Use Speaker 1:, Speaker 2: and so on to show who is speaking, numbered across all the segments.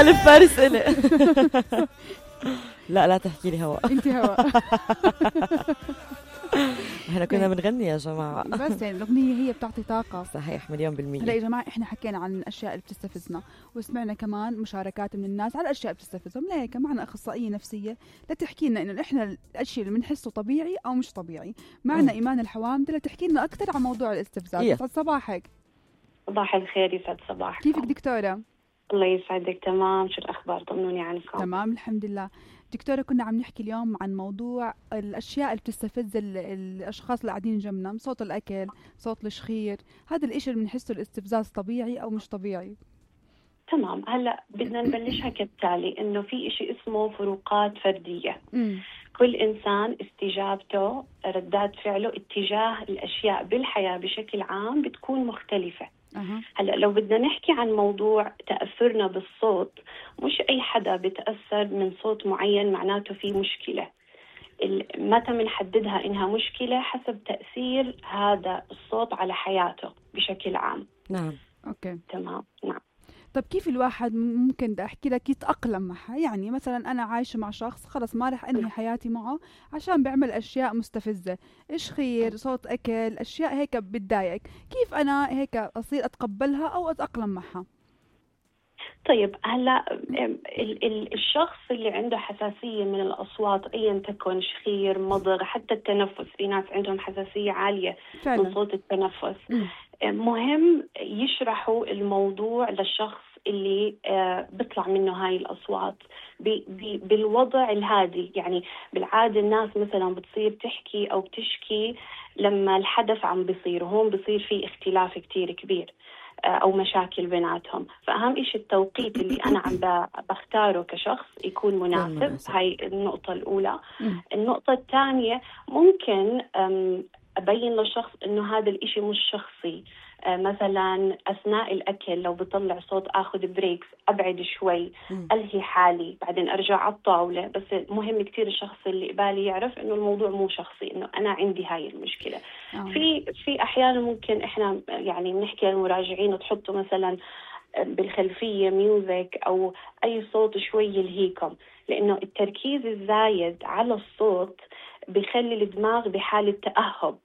Speaker 1: ألف فارس إلي. لا تحكي لي هواء.
Speaker 2: انت هواء.
Speaker 1: احنا كنا بنغني يا جماعة.
Speaker 2: بس يعني الأغنية هي بتعطي طاقة.
Speaker 1: صحيح 1,000,000%.
Speaker 2: هلا يا جماعة احنا حكينا عن الأشياء اللي بتستفزنا وسمعنا كمان مشاركات من الناس على الأشياء اللي بتستفزهم. لهيك معنا أخصائية نفسية لتحكي لنا إنه احنا الأشياء اللي بنحسه طبيعي أو مش طبيعي. معنا إيمان الحوامدة لتحكي لنا أكثر عن موضوع الاستفزاز. يسعد صباحك.
Speaker 3: صباح الخير. يسعد صباحك.
Speaker 2: كيفك دكتورة؟
Speaker 3: الله يسعدك. تمام. شو الأخبار؟ طمنوني عنكم.
Speaker 2: تمام الحمد لله. دكتورة كنا عم نحكي اليوم عن موضوع الأشياء اللي بتستفز الأشخاص اللي قاعدين جنبنا. صوت الأكل، صوت الشخير، هذا الإشي اللي بنحسه الاستفزاز طبيعي أو مش طبيعي؟
Speaker 3: تمام. هلأ بدنا نبلشها كالتالي، إنه في إشي اسمه فروقات فردية. كل إنسان استجابته، ردات فعله اتجاه الأشياء بالحياة بشكل عام بتكون مختلفة. هلأ لو بدنا نحكي عن موضوع تأثرنا بالصوت، مش أي حدا بتأثر من صوت معين معناته في مشكلة. متى بنحددها إنها مشكلة؟ حسب تأثير هذا الصوت على حياته بشكل عام.
Speaker 1: نعم.
Speaker 2: أوكي.
Speaker 3: تمام. نعم.
Speaker 2: طب كيف الواحد ممكن أحكي لك يتأقلم معها؟ يعني مثلا أنا عايشة مع شخص خلص ما رح أنهي حياتي معه عشان بيعمل أشياء مستفزة، إيش خير، صوت أكل، أشياء هيك بتضايقك، كيف أنا هيك أصير أتقبلها أو أتأقلم معها؟
Speaker 3: طيب هلا الشخص اللي عنده حساسية من الأصوات أيا تكن، شخير، مضغ، حتى التنفس، في ناس عندهم حساسية عالية فعلا من صوت التنفس. مهم يشرحوا الموضوع للشخص اللي بيطلع منه هاي الأصوات بالوضع الهادي. يعني بالعادة الناس مثلا بتصير تحكي أو بتشكي لما الحدث عم بيصير، وهون بيصير في اختلاف كتير كبير أو مشاكل بيناتهم. فأهم إشي التوقيت اللي أنا عم بختاره كشخص يكون مناسب. هاي النقطة الأولى. النقطة الثانية، ممكن أبين للشخص إنه هذا الإشي مش شخصي. مثلا أثناء الأكل لو بطلع صوت أخذ بريكس، أبعد شوي، ألهي حالي، بعدين أرجع على الطاولة. بس مهم كتير الشخص اللي قبالي يعرف إنه الموضوع مو شخصي، إنه أنا عندي هاي المشكلة. في أحيانا ممكن إحنا يعني بنحكي للمراجعين تحطوا مثلا بالخلفية ميوزك أو أي صوت شوي يلهيكم، لأنه التركيز الزايد على الصوت بيخلي الدماغ بحالة تأهب.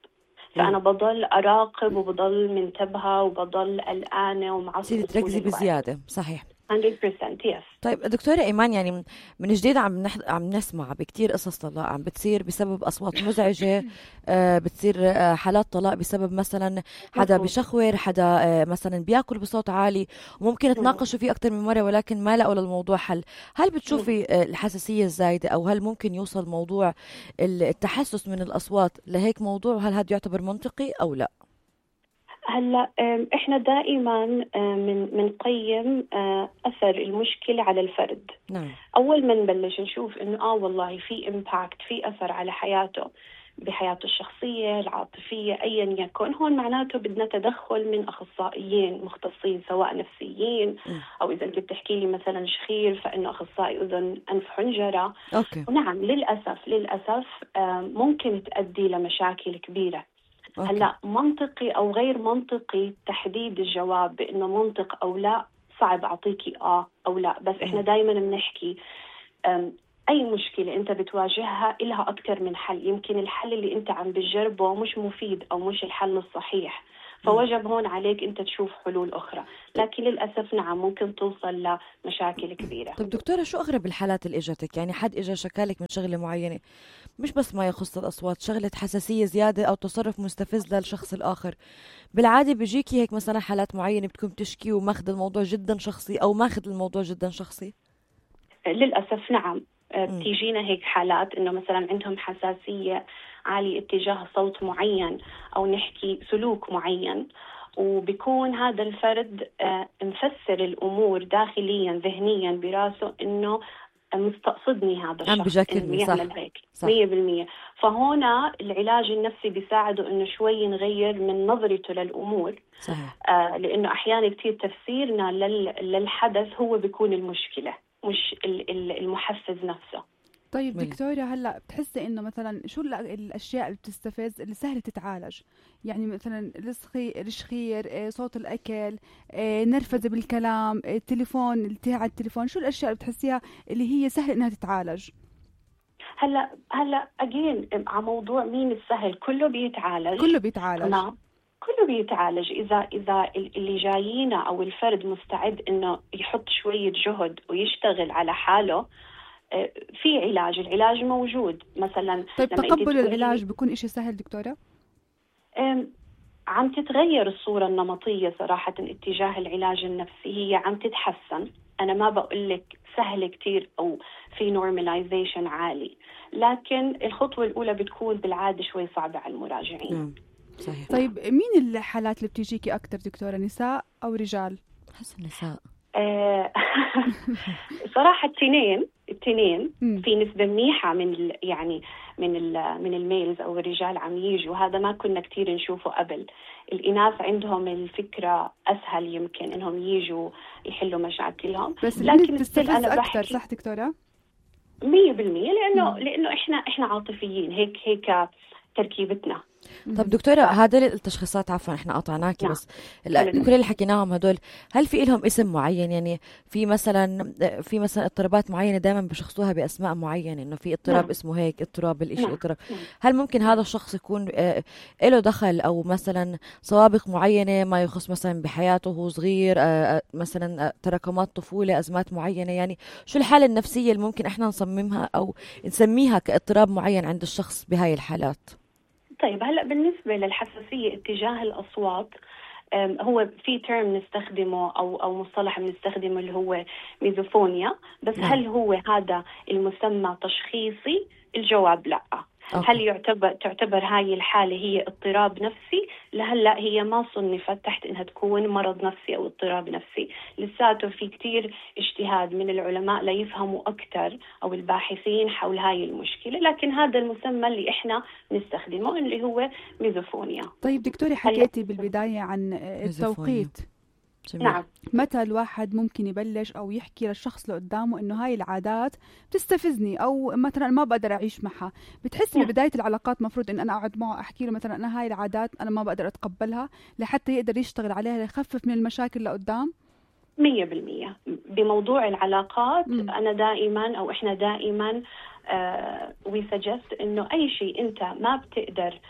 Speaker 3: فأنا بضل أراقب وبضل منتبهة وبضل قلقانة ومعصبة.
Speaker 1: تركزي بزيادة. صحيح
Speaker 3: 100%. يس.
Speaker 1: طيب دكتورة إيمان، يعني من جديد عم نسمع بكتير قصص طلاق عم بتصير بسبب أصوات مزعجة. بتصير حالات طلاق بسبب مثلا حدا بيشخور، حدا مثلا بياكل بصوت عالي، وممكن تناقشوا فيه أكتر من مرة ولكن ما لقوا للموضوع حل. هل بتشوفي الحساسية الزايدة أو هل ممكن يوصل موضوع التحسس من الأصوات لهيك موضوع؟ هل هذا يعتبر منطقي أو لا؟
Speaker 3: هلا احنا دائما منقيم اثر المشكله على الفرد.
Speaker 1: نعم.
Speaker 3: اول ما نبلش نشوف انه والله في امباكت، في اثر على حياته، بحياته الشخصيه العاطفيه ايا يكن، هون معناته بدنا تدخل من اخصائيين مختصين سواء نفسيين او اذا انت بتحكي لي مثلا شخير فانه اخصائي اذن انف حنجره. ونعم للاسف ممكن تؤدي لمشاكل كبيره. هلا منطقي أو غير منطقي تحديد الجواب بأنه منطق أو لا، صعب أعطيكي أو لا. بس إحنا دايما بنحكي أي مشكلة أنت بتواجهها إلها أكثر من حل. يمكن الحل اللي أنت عم بتجربه مش مفيد أو مش الحل الصحيح، فوجب هون عليك أنت تشوف حلول أخرى. لكن للأسف نعم ممكن توصل لمشاكل كبيرة.
Speaker 1: طب دكتورة، شو أغرب الحالات اللي إجتك؟ يعني حد إجا شكالك من شغلة معينة، مش بس ما يخص الأصوات، شغلة حساسية زيادة أو تصرف مستفز للشخص الآخر. بالعادة بيجيكي هيك مثلا حالات معينة بتكون بتشكي وماخذ الموضوع جدا شخصي أو ماخذ الموضوع جدا شخصي؟
Speaker 3: للأسف نعم. بتيجينا هيك حالات إنه مثلا عندهم حساسية عالية اتجاه صوت معين أو نحكي سلوك معين، وبيكون هذا الفرد مفسر الأمور داخليا ذهنيا براسه إنه مستقصدني هذا الشخص إنه يعمل هيك 100%. فهنا العلاج النفسي بيساعده إنه شوي نغير من نظرته للأمور.
Speaker 1: صحيح.
Speaker 3: لأنه أحيانا كتير تفسيرنا للحدث هو بيكون المشكلة مش المحفز نفسه.
Speaker 2: طيب دكتورة، هلا بتحسي انه مثلا شو الاشياء اللي بتستفز اللي سهل تتعالج؟ يعني مثلا الشخير، صوت الاكل، نرفزه بالكلام، التليفون، التهي على التليفون، شو الاشياء اللي بتحسيها اللي هي سهل انها تتعالج؟
Speaker 3: هلا اجين على موضوع مين السهل، كله بيتعالج. تمام، كله بيتعالج اذا اللي جايينا او الفرد مستعد انه يحط شوية جهد ويشتغل على حاله. في العلاج موجود مثلا.
Speaker 2: طيب تقبل العلاج بيكون إشي سهل دكتورة؟
Speaker 3: عم تتغير الصورة النمطية صراحة اتجاه العلاج النفسي، هي عم تتحسن. أنا ما بقول لك سهل كتير أو في نورماليزيشن عالي، لكن الخطوة الأولى بتكون بالعادة شوي صعبة على المراجعين.
Speaker 2: صحيح. طيب مين الحالات اللي بتيجيكي أكتر دكتورة، نساء أو رجال؟
Speaker 1: حسن نساء.
Speaker 3: صراحة التنين في نسبة منيحة من الميلز أو الرجال عم يجوا. هذا ما كنا كتير نشوفه قبل. الإناث عندهم الفكرة أسهل يمكن إنهم يجوا يحلوا مشاكلهم،
Speaker 2: بس لكن تستفز أكثر، صح دكتورة؟
Speaker 3: 100%، لأنه إحنا عاطفيين، هيك تركيبتنا.
Speaker 1: طب دكتورة، هذول التشخيصات عفوا احنا قطعناكي، بس كل اللي حكيناهم هدول هل في لهم اسم معين؟ يعني في مثلا اضطرابات معينة دائما بشخصوها بأسماء معينة، انه في اضطراب اسمه هيك، اضطراب الاشي اضطراب. هل ممكن هذا الشخص يكون له دخل او مثلا سوابق معينة ما يخص مثلا بحياته وهو صغير، مثلا تراكمات طفولة، ازمات معينة؟ يعني شو الحالة النفسية اللي ممكن احنا نصممها او نسميها كاضطراب معين عند الشخص بهاي الحالات؟
Speaker 3: طيب هلأ بالنسبة للحساسية اتجاه الأصوات، هو في تيرم نستخدمه أو مصطلح بنستخدمه اللي هو ميزوفونيا، بس هل هو هذا المسمى تشخيصي؟ الجواب لا. هل تعتبر هاي الحالة هي اضطراب نفسي؟ لهلا هي ما صنفت تحت انها تكون مرض نفسي او اضطراب نفسي. لساته في كتير اجتهاد من العلماء ليفهموا اكثر او الباحثين حول هاي المشكلة، لكن هذا المسمى اللي احنا نستخدمه اللي هو ميزوفونيا.
Speaker 2: طيب دكتوري، حكيتي بالبداية عن التوقيت.
Speaker 3: نعم.
Speaker 2: متى الواحد ممكن يبلش أو يحكي للشخص اللي قدامه إنه هاي العادات بتستفزني أو مثلا ما بقدر أعيش معها؟ بتحس ببداية العلاقات مفروض إن أنا أقعد معه أحكي له مثلا أنا هاي العادات أنا ما بقدر أتقبلها لحتى يقدر يشتغل عليها ليخفف من المشاكل اللي قدام؟
Speaker 3: 100% بموضوع العلاقات. أنا دائما أو إحنا دائما we suggest إنه أي شيء أنت ما بتقدر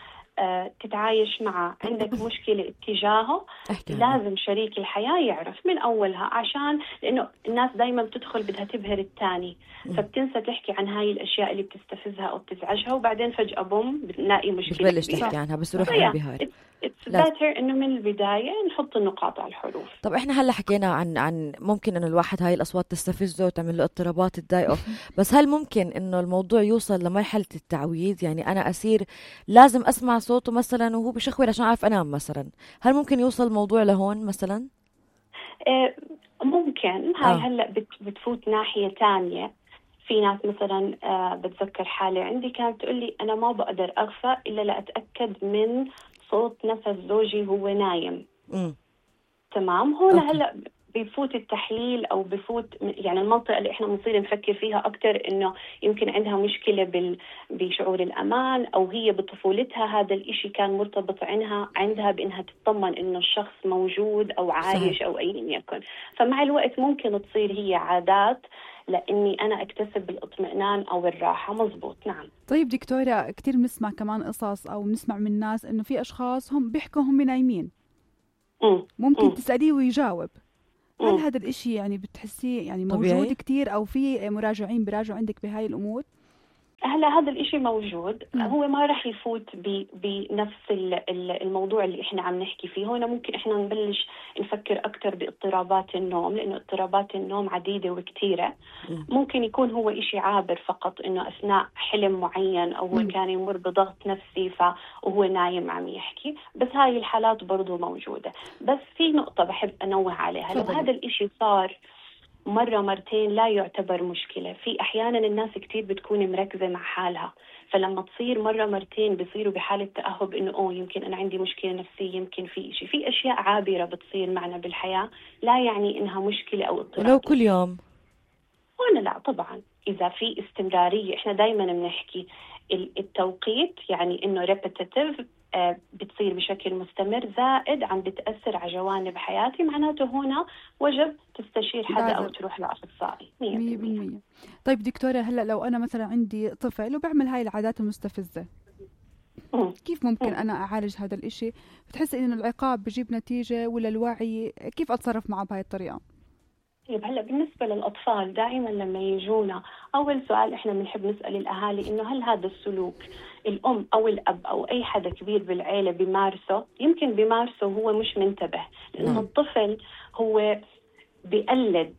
Speaker 3: تتعايش معه، عندك مشكلة اتجاهه، لازم شريك الحياة يعرف من أولها، عشان لأنه الناس دايما بتدخل بدها تبهر الثاني، فبتنسى تحكي عن هاي الأشياء اللي بتستفزها أو بتزعجها، وبعدين فجأة بنلاقي مشكلة
Speaker 1: بتبلش تحكي عنها بس روح انبهار.
Speaker 3: It's better إنه من البداية نحط النقاط على الحروف.
Speaker 1: طب إحنا هلا حكينا عن ممكن إنه الواحد هاي الأصوات تستفزه وتعمل له اضطرابات تضايقه، بس هل ممكن إنه الموضوع يوصل لمرحلة التعويض؟ يعني أنا أصير لازم أسمع صوته مثلا وهو بشخور عشان أعرف أنام مثلا، هل ممكن يوصل الموضوع لهون مثلا؟
Speaker 3: ممكن. هاي هلا بتفوت ناحية تانية. في ناس مثلا بتذكر حالة عندي كانت تقول لي أنا ما بقدر أغفى إلا لأتأكد من صوت نفس زوجي هو نايم. تمام. هون هلا بيفوت التحليل او بيفوت يعني المنطقه اللي احنا بنصير نفكر فيها اكثر، انه يمكن عندها مشكله بشعور الامان، او هي بطفولتها هذا الاشي كان مرتبط عندها بانها تطمن انه الشخص موجود او عايش او ايا يكن. فمع الوقت ممكن تصير هي عادات لاني انا اكتسب الاطمئنان او الراحه. مزبوط. نعم.
Speaker 2: طيب دكتوره، كثير بنسمع كمان قصص او بنسمع من الناس انه في اشخاص هم بيحكوا هم نايمين، ممكن تساليه ويجاوب. هل هذا الاشي يعني بتحسيه يعني موجود كتير، او في مراجعين براجعوا عندك بهاي الامور؟
Speaker 3: هلا هذا الاشي موجود. هو ما رح يفوت بنفس الموضوع اللي احنا عم نحكي فيه. هنا ممكن احنا نبلش نفكر اكثر باضطرابات النوم، لانه اضطرابات النوم عديدة وكتيرة. ممكن يكون هو اشي عابر فقط، انه اثناء حلم معين او هو كان يمر بضغط نفسي وهو نايم عم يحكي. بس هاي الحالات برضو موجودة. بس في نقطة بحب انوه عليها، لو هذا الاشي صار مرة مرتين لا يعتبر مشكلة. في أحيانا الناس كتير بتكون مركزة مع حالها، فلما تصير مرة مرتين بيصيروا بحالة تأهب إنه يمكن أنا عندي مشكلة نفسية، يمكن في إشي، في أشياء عابرة بتصير معنا بالحياة لا يعني إنها مشكلة أو اضطراب.
Speaker 1: ولو كل يوم
Speaker 3: هنا لا طبعا، إذا في استمرارية، إحنا دايما بنحكي التوقيت، يعني إنه repetitive بتصير بشكل مستمر زائد عم بتأثر على جوانب حياتي، معناته هنا وجب تستشير حدا أو تروح لأخصائي
Speaker 2: 100%. طيب دكتورة، هلأ لو أنا مثلا عندي طفل وبعمل هاي العادات المستفزة، كيف ممكن أنا أعالج هذا الإشي؟ بتحس إنه العقاب بجيب نتيجة ولا الوعي؟ كيف أتصرف معه بهاي الطريقة؟
Speaker 3: طيب هلا بالنسبة للأطفال دائما لما يجونا أول سؤال إحنا بنحب نسأل الأهالي إنه هل هذا السلوك الأم أو الأب أو أي حدا كبير بالعيلة بيمارسه؟ يمكن بيمارسه وهو مش منتبه، لأنه الطفل هو بيقلد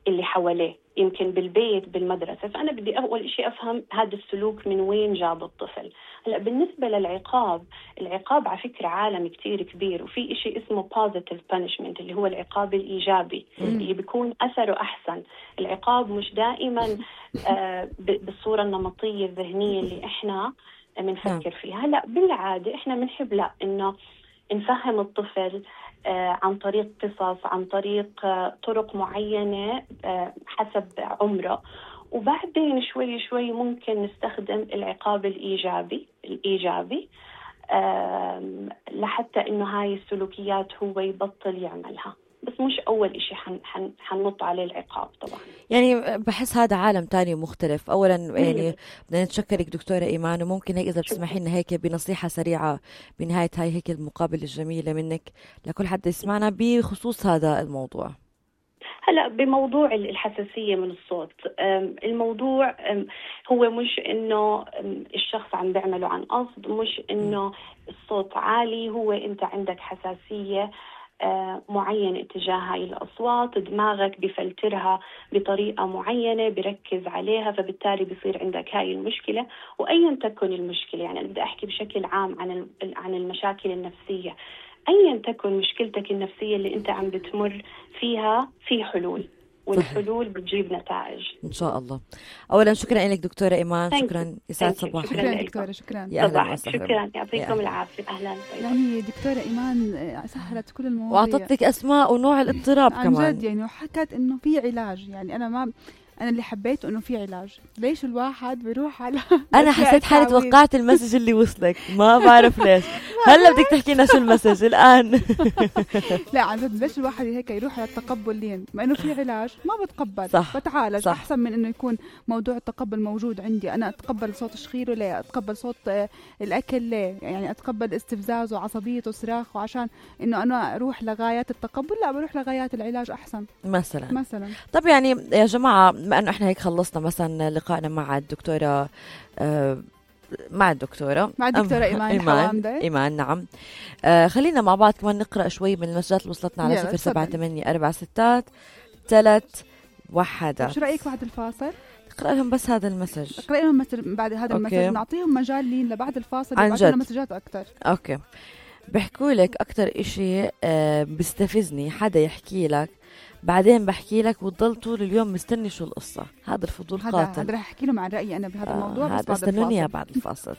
Speaker 3: اللي حواليه، يمكن بالبيت بالمدرسة. فأنا بدي أول إشي أفهم هذا السلوك من وين جاب الطفل. هلأ بالنسبة للعقاب، العقاب على فكرة عالم كتير كبير، وفي إشي اسمه positive punishment اللي هو العقاب الإيجابي اللي بيكون أثره أحسن. العقاب مش دائما بالصورة النمطية الذهنية اللي إحنا بنفكر فيها. هلأ بالعادة إحنا بنحب لا إنه نفهم الطفل عن طريق قصص، عن طريق طرق معينة حسب عمره، وبعدين شوي شوي ممكن نستخدم العقاب الإيجابي لحتى إنه هاي السلوكيات هو يبطل يعملها. بس مش أول إشي حننط عليه العقاب طبعا.
Speaker 1: يعني بحس هذا عالم تاني مختلف. أولا يعني بدنا نتشكرك دكتورة إيمان، وممكن هيك إذا بتسمحي لنا هيك بنصيحة سريعة بنهاية هاي هيك المقابلة الجميلة منك لكل حد يسمعنا بخصوص هذا الموضوع.
Speaker 3: هلا بموضوع الحساسية من الصوت، الموضوع هو مش إنه الشخص عم بيعمله عن قصد، مش إنه الصوت عالي، هو أنت عندك حساسية معينة تجاه هاي الأصوات، دماغك بفلترها بطريقة معينة، بركز عليها، فبالتالي بيصير عندك هاي المشكلة. وأيا تكن المشكلة، يعني أنا بدي أحكي بشكل عام عن المشاكل النفسية، أيا تكن مشكلتك النفسية اللي أنت عم بتمر فيها، في حلول، والحلول بتجيب نتائج
Speaker 1: إن شاء الله. أولا شكرا لك دكتورة إيمان، شكرا، يسعد صباحك.
Speaker 2: شكرا دكتورة، شكرا،
Speaker 1: يا أهلا وسهلا.
Speaker 3: شكرا، يعطيكم العافية. أهلا.
Speaker 2: يعني دكتورة إيمان سهلت كل المواضيع،
Speaker 1: وأعطتك أسماء ونوع الاضطراب
Speaker 2: عن
Speaker 1: كمان
Speaker 2: جد يعني، وحكت إنه في علاج. يعني أنا اللي حبيته إنه في علاج. ليش الواحد بيروح على
Speaker 1: أنا حسيت حالي توقعت المسج اللي وصلك، ما بعرف ليش. هلا بدك تحكي لنا شو المسج الآن؟
Speaker 2: لا عن جد، ليش الواحد هيك يروح على التقبل لين ما إنه في علاج ما بتقبل؟
Speaker 1: صح.
Speaker 2: بتعالج.
Speaker 1: صح.
Speaker 2: أحسن من إنه يكون موضوع التقبل موجود عندي. أنا أتقبل صوت شخيره ليه؟ أتقبل صوت الأكل ليه؟ يعني أتقبل استفزازه وعصبيته وصراخه عشان إنه أنا أروح لغايات التقبل؟ لا، بروح لغايات العلاج أحسن
Speaker 1: مثلا.
Speaker 2: طب
Speaker 1: يعني يا جماعة، بما أنه إحنا هيك خلصنا مثلا لقائنا مع الدكتورة مع الدكتورة إيمان نعم. خلينا مع بعض كمان نقرأ شوي من المسجات اللي وصلتنا على 07846631.
Speaker 2: شو رأيك بعد الفاصل
Speaker 1: اقرأ لهم بس هذا المسج،
Speaker 2: اقرأ لهم بعد هذا المسج، نعطيهم مجال لين لبعد الفاصل
Speaker 1: يبعثوا
Speaker 2: لنا مسجات أكتر.
Speaker 1: أوكي. بحكوا لك أكتر إشي بيستفزني حدا يحكي لك بعدين بحكي لك وتضل طول اليوم مستني شو القصة. هذا الفضول قاتل.
Speaker 2: هذا رح أحكي لهم عن رأيي أنا بهذا الموضوع،
Speaker 1: بس بعد الفاصل.